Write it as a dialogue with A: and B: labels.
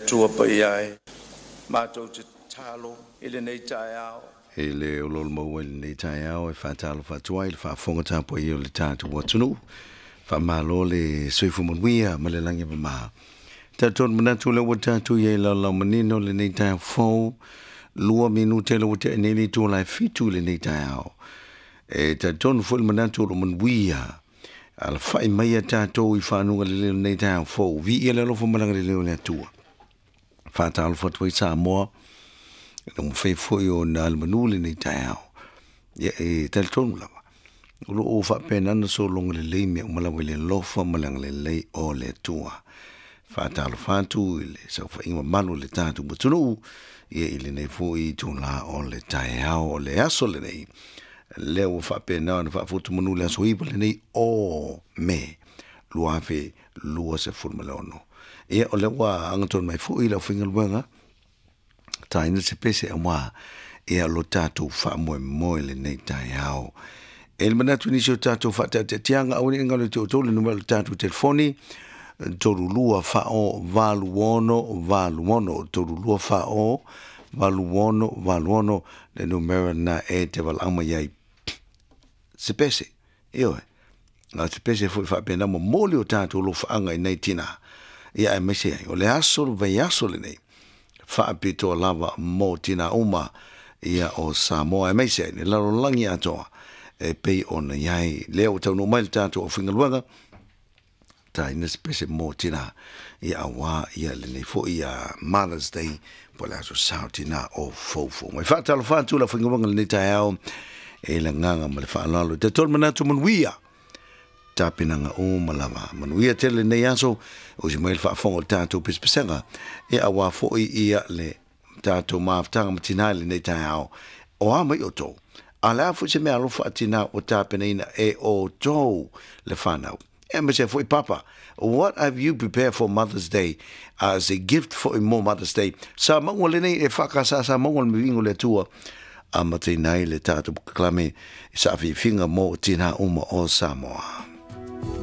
A: Atua paia e, matou te tatalo i lenei taeao.
B: E le oloolo maua i lenei taeao e faatalofa atu ai i le faafofoga tapuaia o le tatou atunuu. Faamalo le soifua manuia ma le lagi e mama. Talitonu manatu o lea ua tatou i ai i laolao manino lenei taeao fou, 2 minute le ua tea nei le itula e 7 i lenei taeao. E talitonu foi le manatu o lo o manuia alafai mai a tatou i fanuga lelei o lenei taeao fou. Viia le alofa ma le agalelei o le Atua. Faatalofa atu ai Samoa, e mafai foi ona alemanu lenei taeao. Ia e talitonu lava, o lo o faapena sologa lelei mea uma lava i le alofa ma le agalelei o le Atua. Faatalofa atu i le saofaiga mamalu o le tatou atunuu, ia i lenei foi itulā o le taeao o le aso lenei. Lea ua faapena ona faafuatumanu le aso 9 lenei o Me 2026. Ia o lea ua agatonu mai foi le aufaigaluega, taina se pese aua ia lo tatou faamoemoe lenei taeao. E le manatu nisi o tatou faataatiatiaga, aua ne i galo ia te outou le numera o le tatou telefoni, 32 40 86, 32 40 86 le numera na e te valaau mai ai. Se pese, ioe, a o se pese foi faapena momoli o tatou alofaaga i nai tinā, ia aemaise ai o le aso le vaiaso lenei faapitoa lava mo tinā uma ia o Samoa, aemaise ai le lalolagi atoa e pei ona i ai. Lea ua taunuu mai le tatou aufaigaluega, taina se pese mo tinā, ia auā ia lenei foi ia Mother's Day po o le aso sao tinā o foufou mai. Faatalofa atu le aufaigaluega lenei taeao e le agaga ma le faaaloalo. Talitonu manatu manuia tapenaga uma lava. Manuia tele lenei aso, o si mai le faafofoga o le tatou pesepesega, e auā foi ia le tatou mafutaga ma tinā i lenei taeao. O a mai outou? A o le a foi se mea alofa a tinā ua tapenaina e outou le fanau? E aemaise foi papa, what have you prepared for Mother's Day as a gift for mo Mother's Day? Sa maua lenei e whakasa sa maua le mivingo le Atua amataina ai le tatou polokalame i saafiafiga mo tinā uma o Samoa.